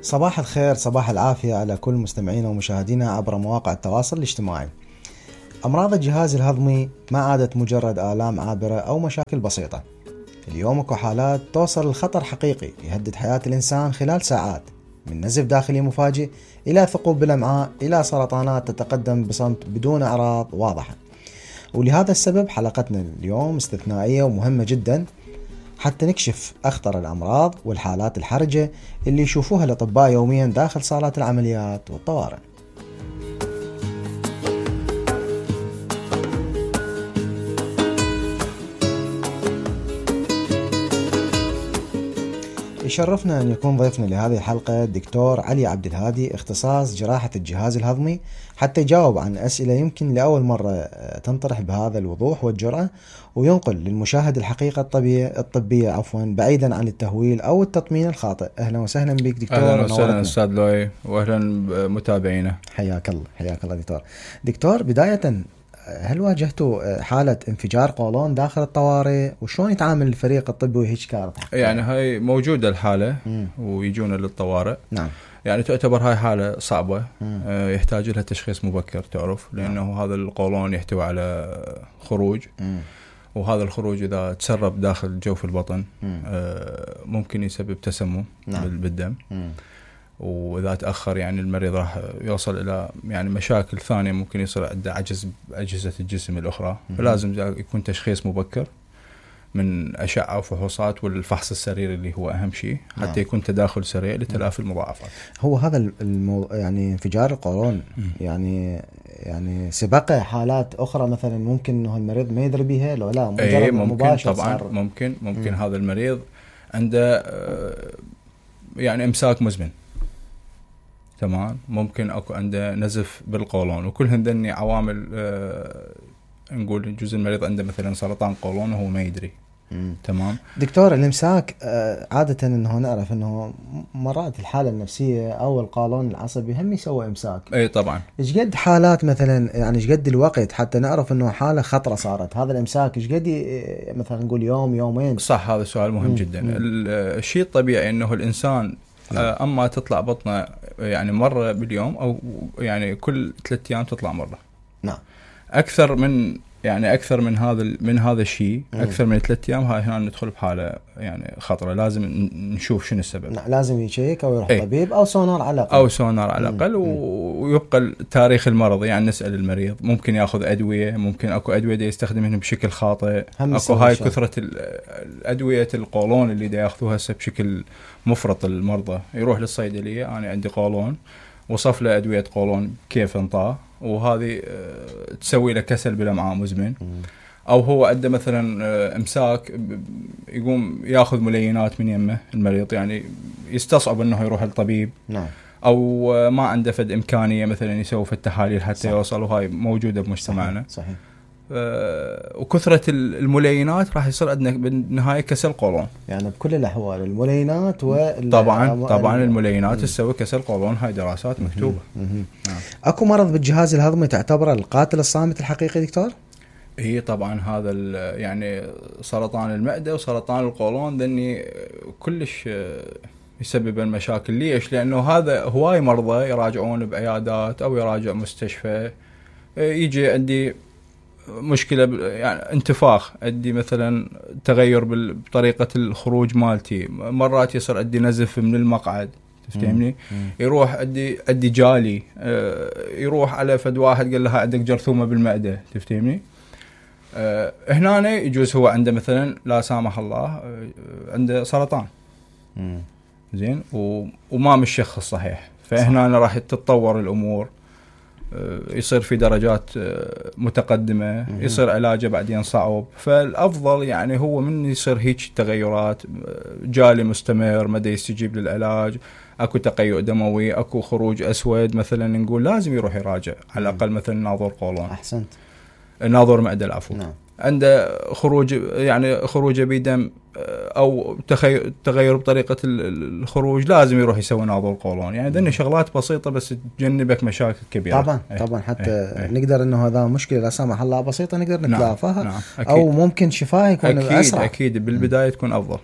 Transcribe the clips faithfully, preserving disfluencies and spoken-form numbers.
صباح الخير، صباح العافية على كل مستمعينا ومشاهدينا عبر مواقع التواصل الاجتماعي. أمراض الجهاز الهضمي ما عادت مجرد آلام عابرة أو مشاكل بسيطة. اليوم اكو حالات توصل لخطر حقيقي يهدد حياة الإنسان خلال ساعات، من نزف داخلي مفاجئ إلى ثقوب بالأمعاء إلى سرطانات تتقدم بصمت بدون أعراض واضحة. ولهذا السبب حلقتنا اليوم استثنائية ومهمة جدا، حتى نكشف أخطر الأمراض والحالات الحرجة اللي يشوفوها الأطباء يوميا داخل صالات العمليات والطوارئ. يشرفنا أن يكون ضيفنا لهذه الحلقة الدكتور علي عبد الهادي، اختصاص جراحة الجهاز الهضمي، حتى يجاوب عن أسئلة يمكن لأول مرة تنطرح بهذا الوضوح والجرأة، وينقل للمشاهد الحقيقة الطبية الطبية عفوا بعيدا عن التهويل أو التطمين الخاطئ. أهلا وسهلا بك دكتور. أهلا وسهلا أستاذ لؤي، وأهلا بمتابعينا. حياك الله حياك الله دكتور. دكتور، بداية هل واجهتوا حالة انفجار قولون داخل الطوارئ، وشلون يتعامل الفريق الطبي وهيك كانت؟ يعني هاي موجودة الحالة مم. ويجونا للطوارئ. نعم. يعني تعتبر هاي حالة صعبة، آه يحتاج لها تشخيص مبكر، تعرف، لأنه نعم. هذا القولون يحتوي على خروج، مم. وهذا الخروج إذا تسرب داخل جوف البطن آه ممكن يسبب تسمم نعم. بالدم، مم. وإذا تأخر يعني المريض راح يوصل إلى يعني مشاكل ثانية، ممكن يصير عنده عجز بأجهزة الجسم الأخرى. م- فلازم يكون تشخيص مبكر من أشعة وفحوصات والفحص السريري اللي هو أهم شيء، حتى نعم. يكون تداخل سريع لتلافي المضاعفات. هو هذا المو... يعني انفجار القولون م- يعني يعني سبق حالات أخرى مثلا ممكن إنه المريض ما يدري بها لو لا مجرد أي ممكن مباشر طبعا صار... ممكن ممكن م- هذا المريض عنده يعني إمساك مزمن، تمام، ممكن اكو عنده نزف بالقولون، وكلهن ذني عوامل آه نقول جزء المريض عنده مثلا سرطان قولون وهو ما يدري. مم. تمام دكتور. الامساك آه عاده انه نعرف انه مرات الحاله النفسيه او القولون العصبي هم يسوي امساك. اي طبعا. ايش قد حالات مثلا، يعني ايش قد الوقت حتى نعرف انه حاله خطره صارت هذا الامساك؟ ايش قد مثلا نقول يوم يومين؟ صح، هذا سؤال مهم مم. جدا. مم. الشيء الطبيعي انه الانسان آه اما تطلع بطنه يعني مرة باليوم أو يعني كل ثلاثة أيام تطلع مرة. نعم. أكثر من يعني أكثر من هذا من هذا الشيء، أكثر من ثلاثة أيام، هاي هنا ندخل بحالة يعني خطرة، لازم نشوف شنو السبب. نعم. لازم يشيك أو يروح ايه؟ طبيب أو سونار على الأقل. أو سونار على الأقل، ويبقى تاريخ المرض، يعني نسأل المريض ممكن يأخذ أدوية، ممكن أكو أدوية دا يستخدمها بشكل خاطئ، أكو هاي كثرة الأدوية القولون اللي دا يأخذوها هسه بشكل مفرط. المرضى يروح للصيدلية، أنا عندي قولون، وصف له أدوية قولون كيف انطاه، وهذه تسوي له كسل بالأمعاء مزمن. أو هو عنده مثلا إمساك، يقوم يأخذ ملينات من يمه المريض، يعني يستصعب أنه يروح للطبيب. نعم. أو ما عنده فد إمكانية مثلا يسوي في التحاليل حتى صح. يوصل، وهاي موجودة بمجتمعنا. صحيح. صحيح. وكثرة الملينات راح يصير عندنا بالنهاية كسل قولون. يعني بكل الأحوال الملينات وال طبعا طبعا الملينات تسوي كسل قولون، هاي دراسات مكتوبة. نعم. أكو مرض بالجهاز الهضمي تعتبره القاتل الصامت الحقيقي دكتور؟ هي طبعا هذا يعني سرطان المعدة وسرطان القولون ذني كلش يسبب المشاكل. ليش؟ لأنه هذا هواي مرضى يراجعون بعيادات أو يراجع مستشفى، يجي عندي مشكلة يعني انتفاخ، عندي مثلا تغير بطريقة الخروج مالتي، مرات يصير عندي نزف من المقعد، تفهمني؟ يروح عندي عندي جالي، يروح على فد واحد قال لها عندك جرثومة بالمعدة، تفهمني؟ أه هنا يجوز هو عنده مثلا لا سامح الله أه عنده سرطان، مم. زين، وما مشخص صحيح، فهنا راح تتطور الأمور، أه يصير في درجات أه متقدمة، مم. يصير علاجه بعدين صعب. فالأفضل يعني هو من يصير هيك تغيرات، جالي مستمر ما دا يستجيب للعلاج، اكو تقيؤ دموي، اكو خروج أسود مثلا، نقول لازم يروح يراجع على الأقل مثلا ناظر قولون. أحسنت. ناظر معدة العفو. نعم. عنده خروج يعني خروج بدم او تغير بطريقه الخروج، لازم يروح يسوي ناظر قولون. يعني ذني شغلات بسيطه بس تجنبك مشاكل كبيره. طبعا ايه طبعا حتى ايه ايه نقدر انه هذا مشكله لا سمح الله بسيطه نقدر نتلافاها. نعم. نعم. او ممكن شفاء يكون أكيد اسرع. اكيد بالبدايه تكون افضل.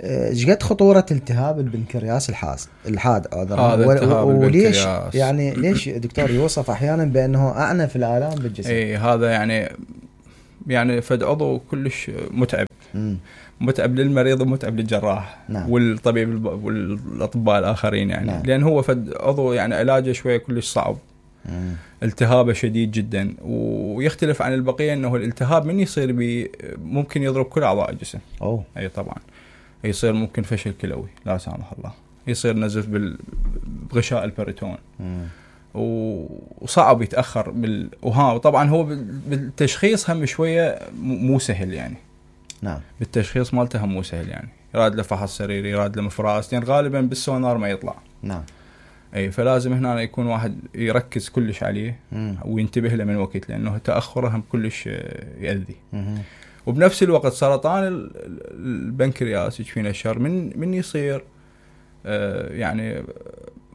ايش قد خطورة التهاب البنكرياس الحاد الحاد هذا التهاب وليش البنكرياس يعني ليش دكتور يوصف احيانا بانه اعنف الالام بالجسم؟ اي هذا يعني يعني فد عضو كلش متعب مم. متعب للمريض ومتعب للجراح. نعم. والطبيب والاطباء الاخرين يعني. نعم. لان هو فد عضو يعني علاجه شويه كلش صعب. مم. التهابه شديد جدا ويختلف عن البقيه انه الالتهاب من يصير بي ممكن يضرب كل اعضاء الجسم. اوه اي طبعا يصير ممكن فشل كلوي لا سامح الله، يصير نزف بغشاء البريتون. مم. وصعب يتاخر بال... وها وطبعا هو بالتشخيص هم شويه مو سهل يعني. نعم. بالتشخيص مالته هم مو سهل يعني، يراد له فحص سريري، يراد له مفراس، يعني غالبا بالسونار ما يطلع. نعم. اي فلازم هنا يكون واحد يركز كلش عليه. مم. وينتبه له من وقت، لانه تاخره هم كلش يؤذي. مم. وبنفس الوقت سرطان البنكرياس يكفينا الشر من من يصير آه يعني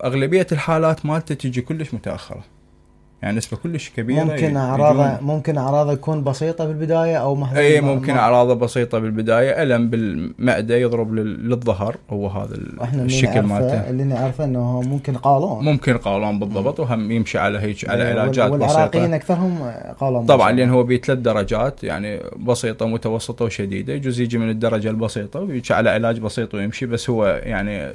اغلبيه الحالات مالته تجي كلش متاخره، يعني نسبه كلش كبيره. ممكن اعراضه ممكن اعراضه تكون بسيطه بالبدايه او محدوده. اي ممكن اعراضه بسيطه بالبدايه، الم بالمعده يضرب للظهر، هو هذا الشكل مالته اللي نعرفه انه ممكن قولون ممكن قولون بالضبط. وهم يمشي على هيك على علاجات بسيطه. والعراقيين اكثرهم قولون طبعا لان هو بثلاث درجات يعني بسيطه متوسطه وشديده، يجوز يجي من الدرجه البسيطه ويمشي على علاج بسيط ويمشي، بس هو يعني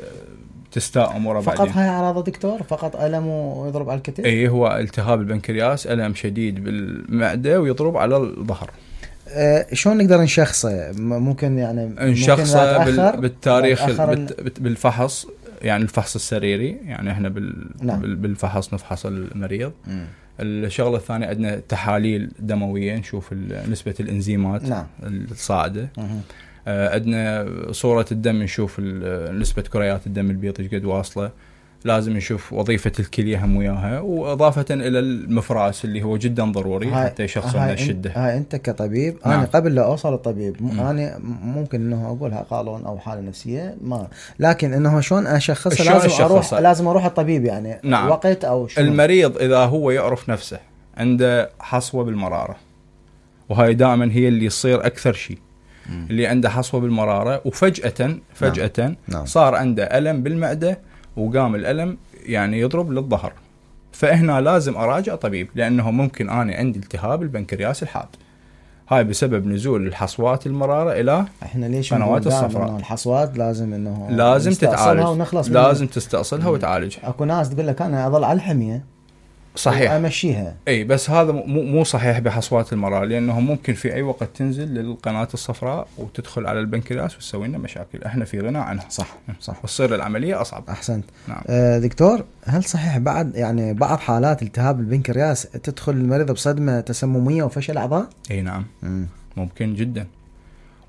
تستاء اموره فقط بعدين. هاي اعراض دكتور؟ فقط الم ويضرب على الكتف؟ اي هو التهاب البنكرياس، الم شديد بالمعده ويضرب على الظهر. أه شلون نقدر نشخصه؟ ممكن يعني نشخصه بال... بالتاريخ بال... بالفحص، يعني الفحص السريري، يعني احنا بال... نعم. بالفحص نفحص المريض. م. الشغله الثانيه عندنا تحاليل دمويه نشوف نسبه الانزيمات. نعم. الصاعده. م. عندنا صورة الدم نشوف نسبة كريات الدم البيض ايش قد واصلة. لازم نشوف وظيفة الكلية هم وياها، وإضافة إلى المفراس اللي هو جدا ضروري حتى يشخصون الشدة. هاي أنت كطبيب. نعم. أنا قبل لا أوصل الطبيب م. أنا ممكن إنه أقولها قولون أو حالة نفسية ما، لكن إنه شلون أشخصها؟ لازم أشخصها. أروح لازم أروح الطبيب يعني. نعم. وقت أو شنو؟ المريض إذا هو يعرف نفسه عنده حصوة بالمرارة، وهاي دائما هي اللي يصير أكثر شيء. مم. اللي عنده حصوة بالمرارة وفجأة فجأة نعم. نعم. صار عنده ألم بالمعدة وقام الألم يعني يضرب للظهر، فهنا لازم أراجع طبيب، لأنه ممكن أنا عندي التهاب البنكرياس الحاد. هاي بسبب نزول الحصوات المرارة إلى احنا ليش قنوات الصفراء. إنه الحصوات لازم إنه لازم تتعالج، لازم تستأصلها وتعالجها. أكو ناس تقول لك أنا أظل على الحمية صحيح امشيها. اي بس هذا مو مو صحيح بحصوات المرارة، لانه ممكن في اي وقت تنزل للقناة الصفراء وتدخل على البنكرياس وتسوي لنا مشاكل احنا في غنى عنها. صح صح. وتصير العملية اصعب. احسنت. نعم. آه دكتور، هل صحيح بعد يعني بعض حالات التهاب البنكرياس تدخل المريض بصدمة تسممية وفشل اعضاء؟ اي نعم. مم. ممكن جدا.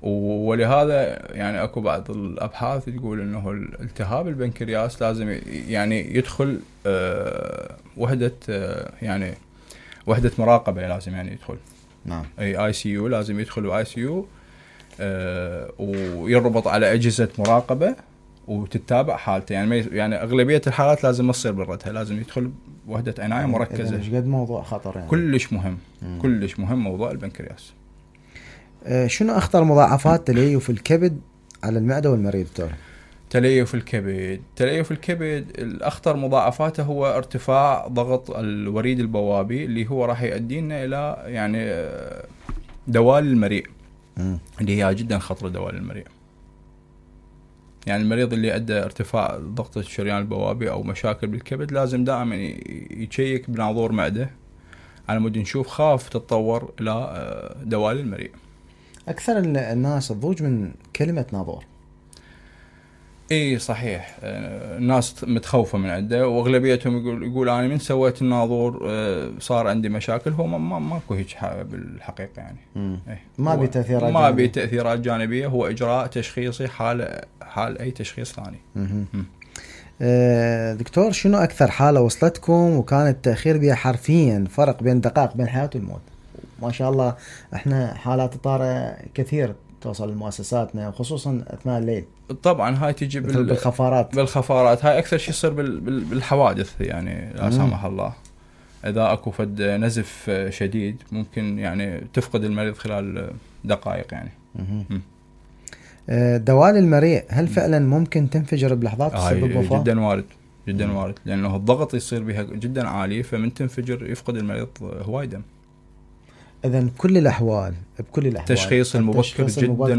ولهذا يعني اكو بعض الابحاث تقول انه التهاب البنكرياس لازم يعني يدخل أه وحده أه يعني وحده مراقبه، لازم يعني يدخل. نعم. اي اي سي يو، لازم يدخل اي سي يو أه ويربط على اجهزه مراقبه وتتابع حالته. يعني يعني اغلبيه الحالات لازم ما تصير بردها، لازم يدخل وحده عنايه مركزه. ايش قد موضوع خطر يعني. كلش مهم. مم. كلش مهم موضوع البنكرياس. شنو أخطر مضاعفات تليف الكبد على المعدة والمريض دكتور؟ تليف الكبد تليف الكبد الأخطر مضاعفاته هو ارتفاع ضغط الوريد البوابي، اللي هو راح يؤدينا إلى يعني دوال المريء. م. اللي هي جدا خطرة دوال المريء. يعني المريض اللي عنده ارتفاع ضغط الشريان البوابي أو مشاكل بالكبد لازم دائما يشيك بناظور معدة على مود نشوف خاف تتطور إلى دوال المريء. أكثر الناس تضوج من كلمة ناظور. إيه صحيح، الناس متخوفة من عنده، وأغلبيتهم يقول يقول أنا من سويت الناظور صار عندي مشاكل. هو ما ما ماكو هيك بالحقيقة يعني. إيه ما بي تأثيرات ما بي تأثيرات جانبية، هو إجراء تشخيصي حال حال أي تشخيص ثاني. أه دكتور، شنو أكثر حالة وصلتكم وكان التأخير بها حرفيا فرق بين دقائق بين الحياة والموت؟ ما شاء الله احنا حالات طارئة كثير توصل لمؤسساتنا، وخصوصا اثناء الليل. طبعا هاي تجي بال... بالخفارات بالخفارات هاي اكثر شيء يصير بال... بال... بالحوادث يعني لا سامح الله. اذا اكو فد نزف شديد ممكن يعني تفقد المريض خلال دقائق يعني. آه، دوال المريء هل فعلا ممكن تنفجر بلحظات تسبب هاي وفاة؟ جدا وارد جدا وارد، لانه الضغط يصير بها جدا عالي، فمن تنفجر يفقد المريض هواي دم. اذا بكل الاحوال بكل الاحوال التشخيص المبكر التشخيص جدا المبكر